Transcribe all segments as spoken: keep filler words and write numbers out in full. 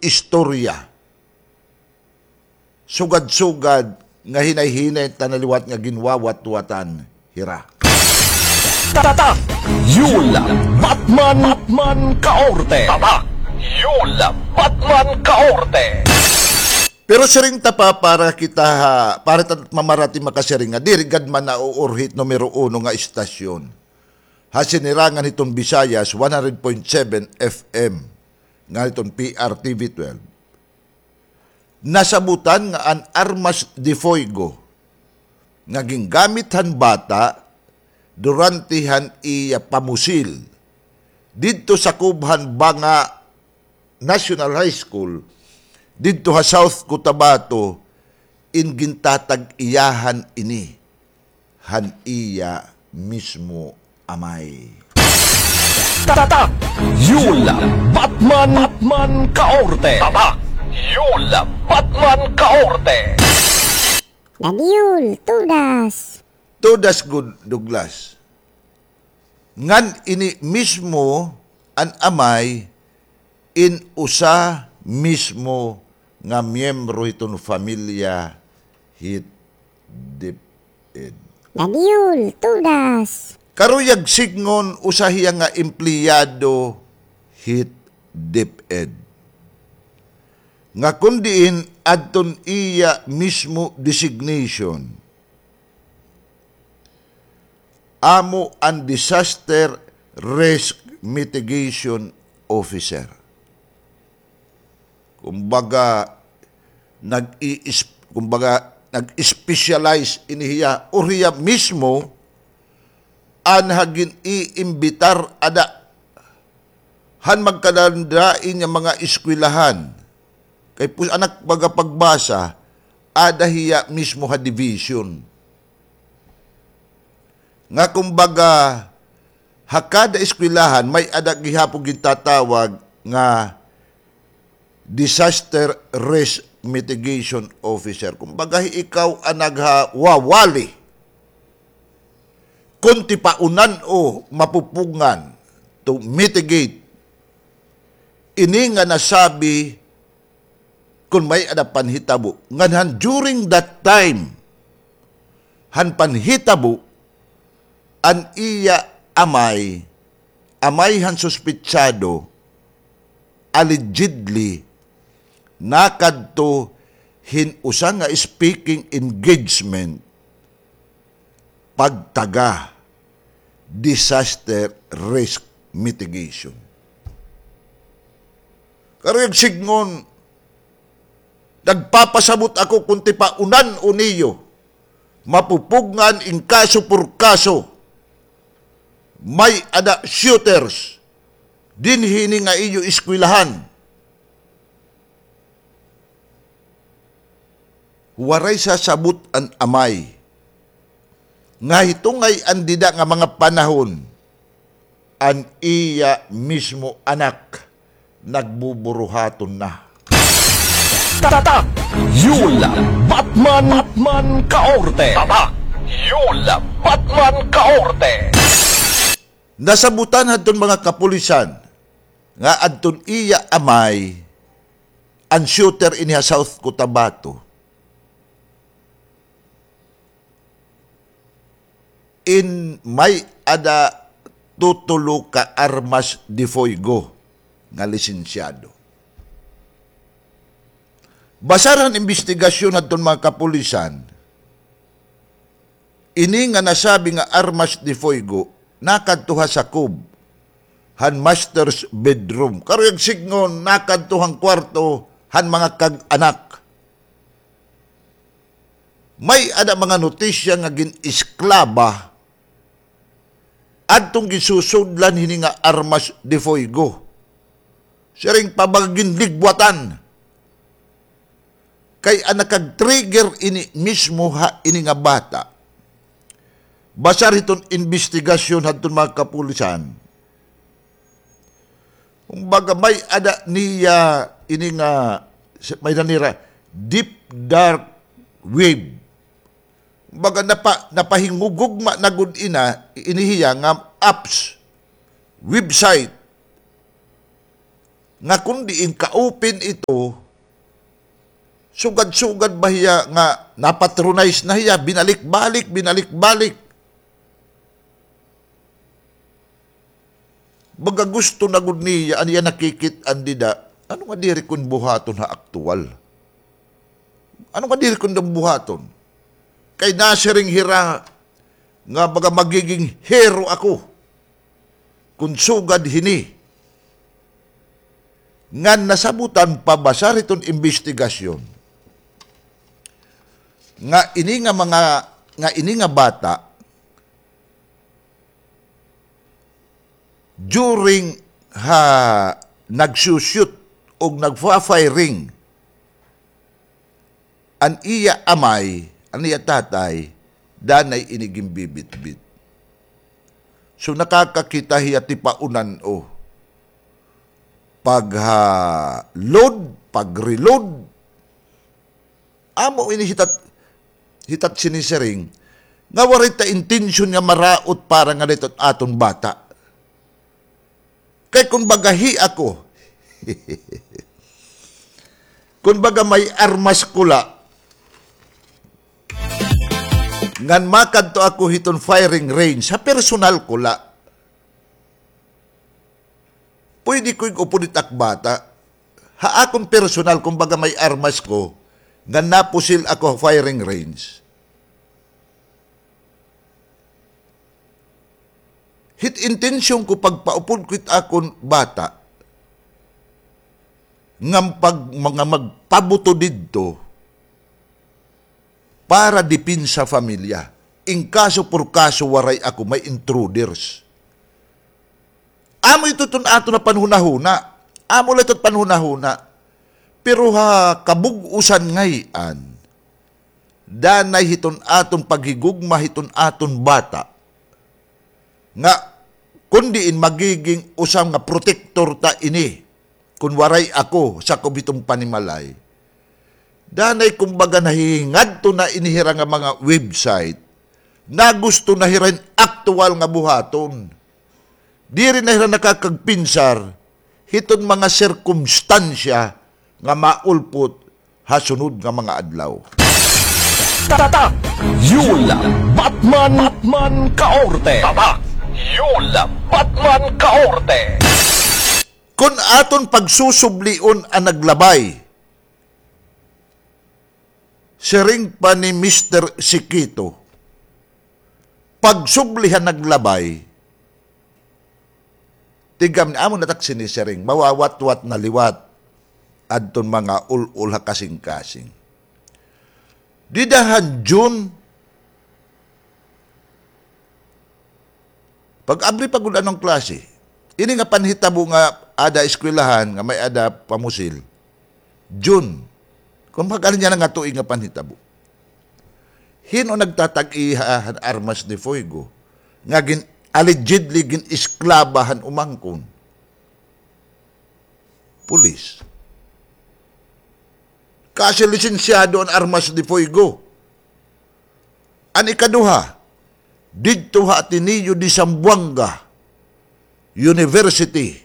istorya. Sugad-sugad nga hinay-hinay ta na liwat nga ginwawatwatan hira. Tatak! Yul Batman, Batman Kaorte! Tatak! Yul Batman Kaorte! Pero siring ta pa para kita ha, para ta mamarati makasiring nga diri gad man nauurhit numero uno nga istasyon ha sinirangan hiton Visayas, one hundred point seven F M, nga hiton P R T V twelve. Nasabutan nga an armas de fuego nga gingamit han bata durante han iya pamusil didto sakob han Banga National High School didto ha South Cotabato, in gintatag-iyahan ini han iya mismo amay. Tatak! Yul Batman, Batman Kaorte! Tatak! Yul Batman Kaorte! Dadyul, tudas. Tudas gud, Douglas. Ngan ini mismo an amay in usa mismo nga miyembro hiton familya hit DepEd. Dadyul, tudas. Karuyag sidngon usa hiya nga empleyado hit DepEd. Nga kon diin adton iya mismo designation, amo an Disaster Risk Mitigation Officer. Kumbaga, nag-i-, kumbaga, nag-specialize ini hiya, or hiya mismo, an ha gin-iimbitar ada han magkadadain nga mga eskwelahan. Kay pus-, anak baga pagbasa, ada hiya mismo ha division. Nga kumbaga, ha kada eskwelahan, may-ada gihapon gintatawag nga Disaster Risk Mitigation Officer. Kumbaga, ikaw an naghawawali kon tipaunan o mapupungan to mitigate ini nga nasabi kon may-ada panhitabo. Ngan han during that time, han panhitabo, an iya amay, amay han suspitsado, allegedly, nakadto hin usa nga speaking engagement pagtaga disaster risk mitigation. Karuyag sidngon, nagpapasabot ako kon tipaunan-o niyo, mapupugngan in kaso por kaso, may-ada shooters dinhi ini nga iyo eskwelahan. Waray sasabot an amay nga hitungay an dida nga mga panahon, an iya mismo anak nagbuburuhaton na. Tatak! Yul Batman, Batman Kaorte! Tatak! Yul Batman Kaorte! Nasabutan hadton mga kapulisan nga adton iya amay an shooter ini ha South Cotabato. In may-ada tutulo ka armas de fuego nga lisensyado. Basar han imbestigasyon hadton mga kapulisan, ini nga nasabi nga armas de fuego nakadto ha sakob han master's bedroom. Karuyag sidngon, nakadto han kwarto han mga kag-anak. May-ada mga notisya nga gin-esklaba adtong ginsusudlan hini nga armas de fuego. Siring pa baga ginligwatan. Kay an nakag-trigger ini mismo ha ini nga bata. Basar hiton imbestigasyon hadton mga kapulisan, kumbaga, may-ada niya ini nga, may-ada nira deep dark web. Kumbaga, napa-, napahingugugma na gud ina, ini hiya nga apps, website, nga kon diin ka-open ito, sugad-sugad ba hiya nga napatronize na hiya, binalik-balik, binalik-balik. Baga gusto na gud niya, an iya nakikit-an dida, ano nga diri kon buhaton ha aktuwal? Ano nga diri kon buhaton? Kay nasiring hira nga baga magiging hero ako kon sugad hini ngan nasabutan pa basar hiton imbestigasyon nga ini nga mga, nga ini nga bata during ha nagsu-shoot og nagfa-firing an iya amay, an iya tatay, danay ini ginbibitbit. So, nakakakita hiya tipaunan, o. Pagha-load, pag-reload. Amo ini hitat, hitat sinisiring nga waray ta intensyon nga maraot para nga didto aton bata. Kay kun baga hi ako, kun baga may armas ko la, ngan makadto ako hiton firing range, ha personal ko la. Pwede ko ig-upod it ak bata. Ha akon personal, kun baga may armas ko, ngan napusil ako ha firing range. Hit intensyon ko pagpaupod ko hit akon bata, nga pag, mga magpabuto didto, para depensa pamilya. In kaso por kaso waray ako, may intruders. Amo ito iton aton nga panhunahuna. Amo la ito panhunahuna. Pero ha kabug-osan ngay-an, danay hiton aton paghigugma hiton aton bata, nga kun diin magiging usa nga protektor ta ini, kun waray ako sakob hiton panimalay. Danay kumbaga nahihingadto na ini hira nga mga website, nagusto na hira hin aktuwal nga buhaton. Diri na hira nakakagpinsar hiton mga sirkumstansya nga maulpot ha sunod nga mga adlaw. Tatak Yul Batman, Batman Kaorte. Tatak Yul Batman Kaorte. Kun aton pagsusublion an naglabay, siring pa ni Mister Sikito, pagsubli han naglabay, tigam ni amo na tak sinisiring, mawawatwat na liwat adton mga ul-ol ha kasingkasing. Dida han June, pag-abri pa gud an klase. Ini nga panhitabo nga ada eskwelahan, nga may-ada pamusil. June. Kun mag-ano niya na nga tuig nga panhitabo. Hin-o nagtatag-iya han armas de fuego nga gin-, allegedly gin-esklaba han umangkon? Pulis. Kasi lisensyado an armas de fuego. An ikaduha, didto ha Ateneo de Zamboanga University,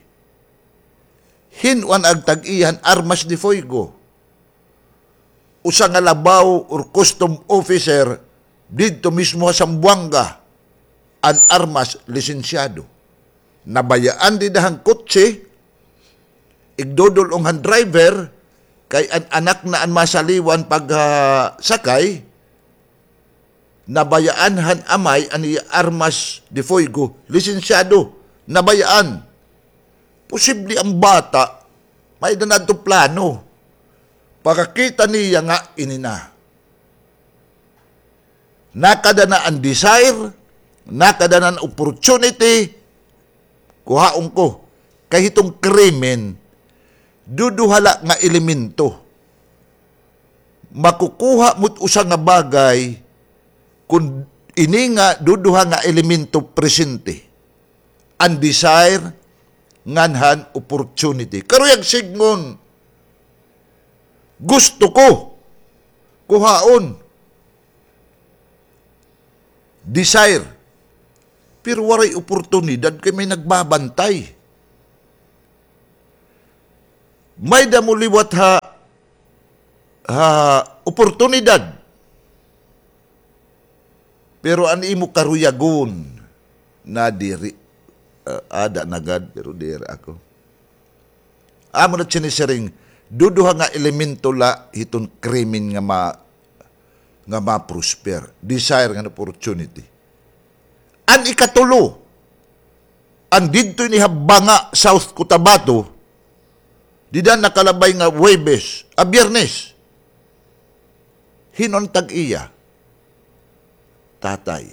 hin-o an nagtag-iya han armas de fuego? Usa nga labaw or custom officer didto mismo ha Zamboanga, an armas lisensyado. Nabayaan dida han kotse, igdudul-ong han driver, kay an anak na an masaliwan pag, ah, sakay, nabayaan han amay an iya armas de fuego, lisensyado, nabayaan. Posible an bata, may-ada na adto plano. Pagkakita niya nga ini na. Nakada na an desire, nakada na an opportunity, kuhaon ko. Kay hiton krimen, duduha la nga elemento. Makukuha mo it usa nga bagay kun ini nga duduha nga elemento presente. An desire ngan han opportunity. Karuyag sidngon, gusto ko kuhaon. Desire. Pero waray oportunidad kay may nagbabantay. May-ada mo liwat ha, ha oportunidad. Pero an imo karuyagon na diri, ah, ada na gad, pero diri ako. Amo na sinisiring, duduha nga elemento la hiton krimen nga ma-, nga ma-prosper. Desire ngan opportunity. An ikatulo, an didto ini ha Banga, South Cotabato, dida nakalabay nga Huwebes, ah, Biyernes. Hin-o an tag-iya? Tatay.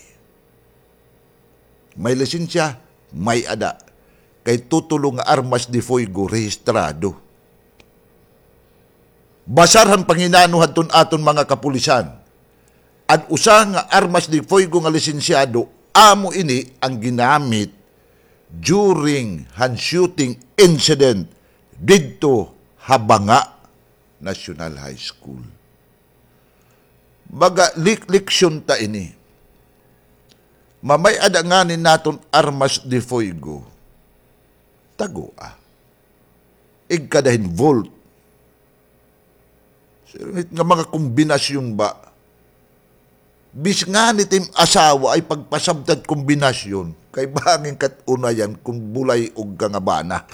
May lisensya, may-ada. Kay tutulo nga armas de fuego rehistrado. Basar han panginano hadton aton mga kapulisan. An usa nga armas de fuego nga lisensyado, amo ini ang ginamit during han shooting incident didto ha Banga National High School. Baga lik-, leksyon ta ini. Mamay-ada ngani naton armas de fuego. Tagoa. Igkada hin vault. Sir, nga mga kombinasyon ba? Bis ngani it im asawa ay pagpasabta it kombinasyon, kay bangin kat unayan kon bulay-og ka nga bana.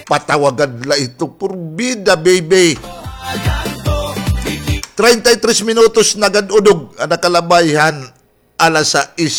Patawagan la ito, purbida, baby. Treinta y tres minutos na gad udog an nakalabay han alas sais